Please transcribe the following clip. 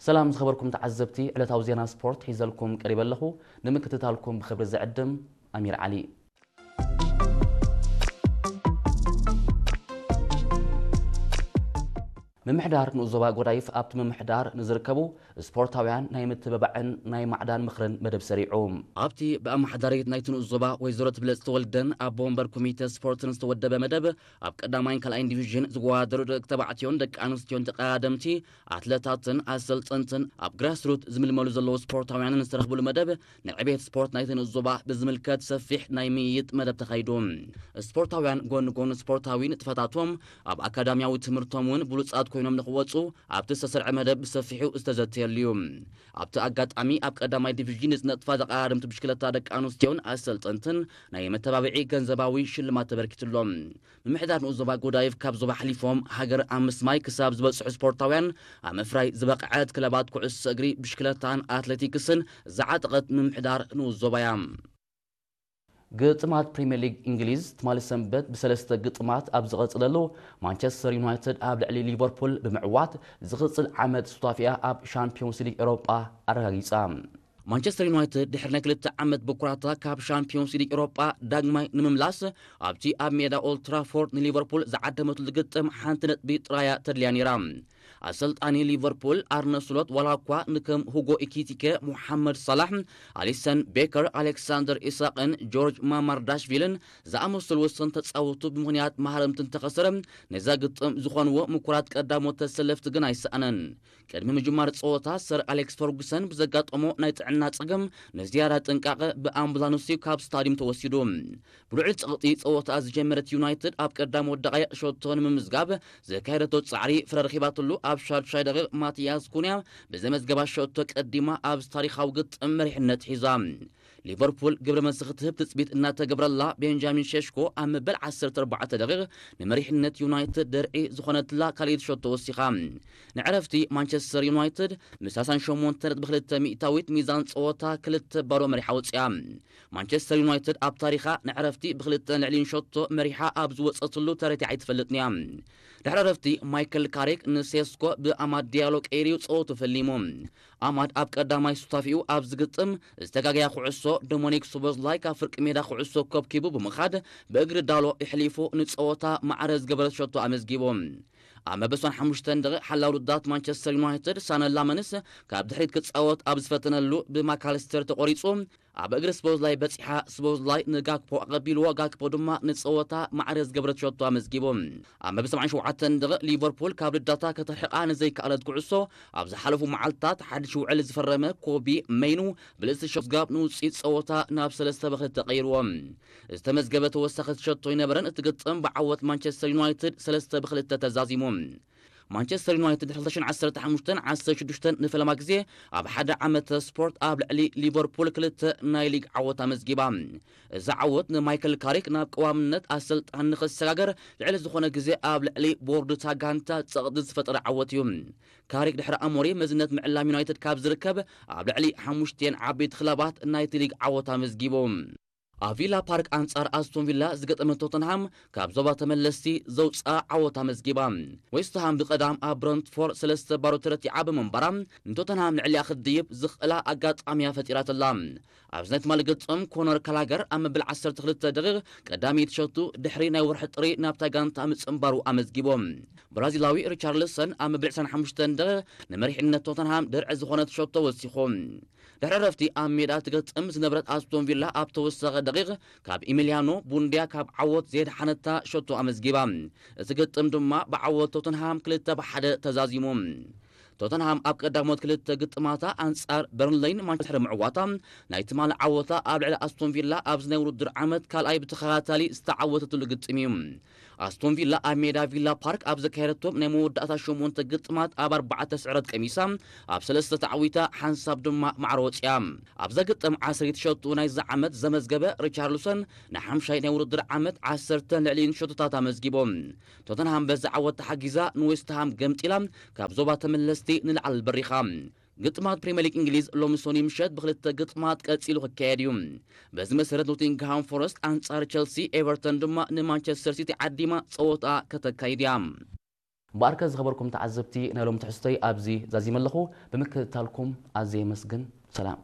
ሰላም ዝኸበርኩም ተዓዘብቲ፣ ዕለታዊ ዜና ስፖርት ሒዘልኩም ቀሪበ ኣለኹ። ንምክትታልኩም ብኽብሪ ዝዕድም ኣሚር ዓሊ። ምምሕዳር ንኡስ ዞባ ጎዳይፍ ኣብቲ ምምሕዳር ንዝርከቡ ስፖርታውያን ናይ ምትብባዕን ናይ ማዕዳን ምኽርን መደብ ሰሪዑ። ኣብቲ ብኣመሓዳሪት ናይቲ ንኡስ ዞባ ወይዘሮ ትብለጽ ተወልደን ኣቦ ወንበር ኮሚተ ስፖርትን ዝተወደበ መደብ፣ ኣብ ቀዳማይን ካልኣይን ዲቪዥን ዝወዳደሩ ደቂ ተባዕትዮን ደቂ ኣንስትዮን ተቐዳደምቲ ኣትለታትን ኣሰልጠንትን ኣብ ግራስሩት ዝምልመሉ ዘለዉ ስፖርታውያንን ዝተረኽብሉ መደብ፣ ንዕቤት ስፖርት ናይቲ ንኡስ ዞባ ብዝምልከት ሰፊሕ ናይ ምይይጥ መደብ ተኻይዱ። ስፖርታውያን ጎኒ ጎኒ ስፖርታዊ ንጥፈታቶም፣ ኣብ ኣካዳሚያዊ ትምህርቶም እውን ብሉጻት ኮይኖም ንኽወጹ ኣብቲ ዝተሰርዐ መደብ ብሰፊሑ ዝተዘተየሉ እዩ። ኣብቲ ኣጋጣሚ ኣብ ቀዳማይ ዲቪዥን ዝነጥፋ ተቐዳደምቲ ብሽክለታ ደቂ ኣንስትዮን ኣሰልጠንትን ናይ መተባብዒ ገንዘባዊ ሽልማት ተበርኪትሎም። ምምሕዳር ንኡስ ዞባ ጎዳይፍ ካብ ዞባ ሓሊፎም ሃገር ኣብ ምስማይ ክሳብ ዝበጽሑ ስፖርታውያን ኣብ ምፍራይ ዝበቕዐት ክለባት ኩዕሶ እግሪ፣ ብሽክለታን ኣትሌቲክስን ዝዓጠቐት ምምሕዳር ንኡስ ዞባ እያ። ግጥማት ፕሪምየር ሊግ እንግሊዝ ትማሊ ሰንበት ብሰለስተ ግጥማት ኣብ ዝቐጽለሉ፣ ማንቸስተር ዩናይትድ ኣብ ልዕሊ ሊቨርፑል ብምዕዋት ዝቕጽል ዓመት ሱታፊኣ ኣብ ሻምፒዮንስ ሊግ ኤውሮጳ ኣረጋጊጻ። ማንቸስተር ዩናይትድ ድሕሪ ናይ ክልተ ዓመት ብኩራታ ካብ ሻምፒዮንስ ሊግ ኤውሮጳ ዳግማይ ንምምላስ፣ ኣብቲ ኣብ ሜዳ ኦልድ ትራፎርድ ንሊቨርፑል ዝዓደመትሉ ግጥም ሓንቲ ነጥቢ ጥራያ ተድልያ ነይራ። ኣሰልጣኒ ሊቨርፑል ኣርነ ስሎት ዋላ እኳ ንከም ሁጎ ኢኪቲኬ፣ ሙሓመድ ሳላሕ፣ ኣሊሰን ቤከር፣ ኣሌክሳንደር ኢሳቅን ጆርጅ ማማርዳሽቪልን ዝኣመሰሉ ወሰንቲ ተጻወቱ ብምኽንያት ማህረምቲ እንተኸሰረ፣ ነዛ ግጥም ዝኾንዎ ምኩራት ቀዳሞት ተሰለፍቲ ግን ኣይሰኣነን። ቅድሚ ምጅማር ጸወታ ሰር ኣሌክስ ፈርጉሰን ብዘጋጠሞ ናይ ጥዕና ጸገም ንዝያዳ ጥንቃቐ ብኣምቡላንስ እዩ ካብ ስታዲየም ተወሲዱ። ብልዑል ጸቕጢ ጸወታ ዝጀመረት ዩናይትድ ኣብ ቀዳሞት ደቓይቕ ሸቶ ንምምዝጋብ ዘካየደቶ ጻዕሪ ፍረ ረኺባትሉ ኣብ ሻዱሻይ ደቂቕ ማቲያስ ኩንያ ብዘመዝገባ ሸቶ ቀዲማ ኣብዚ ታሪኻዊ ግጥም መሪሕነት ሒዛ። ሊቨርፑል ግብረ መልሲ ክትህብ ትጽቢት እናተገብረላ፣ ቤንጃሚን ሼሽኮ ኣብ መበል ዓሰርተ ኣርባዕተ ደቂቕ ንመሪሕነት ዩናይትድ ደርዒ ዝኾነትላ ካልኣይቲ ሸቶ ወሲኻ። ንዕረፍቲ ማንቸስተር ዩናይትድ ምስ ሰላሳ ሸሞንተ ነጥቢ ክልተ ሚእታዊት ሚዛን ጸወታ ክልተ ባዶ መሪሓ ወጺኣ። ማንቸስተር ዩናይትድ ኣብ ታሪኻ ንዕረፍቲ ብክልተ ንዕሊን ሸቶ መሪሓ ኣብ ዝወጸትሉ ተረቲዓ ኣይትፈልጥን እያ። ድሕሪ ዕረፍቲ ማይክል ካሪክ ንሴስኮ ብኣማድ ዲያሎ ቀይርዩ ጸወቱ ፈሊሙ። ኣማድ ኣብ ቀዳማይ ሱታፊኡ ኣብ ዝግጥም ዝተጋገያ ኩዕሶ ዶሞኒክ ሶቦዝላይ ካብ ፍርቂ ሜዳ ኩዕሶ ከብኪቡ ብምኻድ ብእግሪ ዳሎ የሕሊፉ ንጸወታ ማዕረ ዝገበረት ሸቶ ኣመዝጊቡ። ኣብ መበል ሓሙሽተ ደቂቕ ሓላው ውዳት ማንቸስተር ዩናይትድ ሳነ ላመንስ ካብ ድሕሪት ክጻወት ኣብ ዝፈተነሉ ብማካልስተር ተቖሪጹ ኣብ እግሪ ስቦዝላይ በጺሓ፣ ስቦዝላይ ንጋክፖ ኣቐቢልዎ፣ ጋክፖ ድማ ንጸወታ ማዕረ ዝገበረት ሸቶ ኣመዝጊቡ። ኣብ መበል ሰብዓን ሸውዓተን ደቂቕ ሊቨርፑል ካብ ልዳታ ከተርሕቓ ንዘይከኣለት ኩዕሶ፣ ኣብ ዝሓለፉ መዓልታት ሓድሽ ውዕል ዝፈረመ ኮቢ መይኑ ብልእቲ ሸቶ ምዝጋብ ንውጽኢት ጸወታ ናብ ሰለስተ ብክልተ ቀይርዎ። ዝተመዝገበ ተወሳኺ ሸቶ ኣይነበረን። እቲ ግጥም ብዓወት ማንቸስተር ዩናይትድ ሰለስተ ብክልተ ተዛዚሙ። ማንቸስተር ዩናይትድ ክልተ ሽሕን ዓሰርተ ሓሙሽተን ዓሰርተ ሽዱሽተን ንፈለማ ግዜ ኣብ ሓደ ዓመተ ስፖርት ኣብ ልዕሊ ሊቨርፑል ክልተ ናይ ሊግ ዓወት ኣመዝጊባ። እዚ ዓወት ንማይክል ካሪክ ናብ ቀዋምነት ኣሰልጣኒ ንኽሰጋገር ልዕሊ ዝኾነ ግዜ ኣብ ልዕሊ ቦርድ እታ ጋንታ ጸቕጢ ዝፈጠረ ዓወት እዩ። ካሪክ ድሕሪ ኣሞሪ መዝነት ምዕላም ዩናይትድ ካብ ዝርከብ ኣብ ልዕሊ ሓሙሽቲኤን ዓበይቲ ክለባት ናይቲ ሊግ ዓወት ኣመዝጊቡ። ኣብ ቪላ ፓርክ ኣንጻር ኣስቶን ቪላ ዝገጠመ ቶተንሃም ካብ ዞባ ተመለስቲ ዘውፅኣ ዓወት ኣመዝጊባ። ዌስትሃም ብቐዳም ኣብ ብረንትፎርድ ሰለስተ ባዶ ተረቲዓ ብምንባራ ንቶተንሃም ልዕሊኣ ክትድይብ ዝኽእላ ኣጋጣሚያ ፈጢራትላ። ኣብዚ ናይ ትማሊ ገጾም ኮነር ካላገር ኣብ መበል ዓሰርተ ክልተ ደቂቕ ቀዳመይቲ ሸቱ ድሕሪ ናይ ወርሒ ጥሪ ናብታ ጋንታ ምጽንባሩ ኣመዝጊቦም። ብራዚላዊ ሪቻርልሰን ኣብ መበል ዕስራን ሓሙሽተን ደቂቕ ንመሪሕነት ቶተንሃም ድርዒ ዝኾነት ሸቶ ወሲኹ። ድሕሪ ዕረፍቲ ኣብ ሜዳ ትገጥም ዝነበረት ኣስቶን ቪላ ኣብ ተወሳኺ ደቂቕ ካብ ኢሚልያኖ ቡንድያ ካብ ዓወት ዘየድሓነታ ሸቶ ኣመዝጊባ። እቲ ግጥም ድማ ብዓወት ቶተንሃም ክልተ ብሓደ ተዛዚሙ። ቶተንሃም ኣብ ቀዳሞት ክልተ ግጥማታ ኣንጻር በርንሌይን ማንቸስተር ምዕዋታ ናይ ትማሊ ዓወታ ኣብ ልዕሊ ኣስቶን ቪላ ኣብዚ ናይ ውድድር ዓመት ካልኣይ ብተኸታታሊ ዝተዓወተትሉ ግጥም እዩ። ኣስቶን ቪላ ኣብ ሜዳ ቪላ ፓርክ ኣብ ዘካየደቶም ናይ መወዳእታ ሸሞንተ ግጥማት ኣብ ኣርባዕተ ስዕረት ቀሚሳ ኣብ ሰለስተ ተዓዊታ ሓንሳብ ድማ ማዕረ ወፂኣ። ኣብዛ ግጥም ዓሰርተ ሸቱ ናይዚ ዓመት ዘመዝገበ ሪቻርልሰን ንሓምሻይ ናይ ውድድር ዓመት ዓሰርተ ልዕሊኡን ሸቶታት ኣመዝጊቦም። ቶተንሃም በዚ ዓወት ተሓጊዛ ንዌስትሃም ገምጢላ ካብ ዞባ ተመለስቲ ንላዕሊ በሪኻ። ግጥማት ፕሪምየር ሊግ እንግሊዝ ሎሚ ሰኑይ ምሸት ብክልተ ግጥማት ቀጺሉ ክካየድ እዩ። በዚ መሰረት ኖቲንግሃም ፎረስት ኣንጻር ቸልሲ፣ ኤቨርተን ድማ ንማንቸስተር ሲቲ ዓዲማ ጸወታ ከተካይድ እያ። እምበኣርከ ዝኸበርኩም ተዓዘብቲ፣ ናይ ሎም ትሕዝቶይ ኣብዚ ዛዚመ ኣለኹ። ብምክትታልኩም ኣዝየ የመስግን። ሰላም።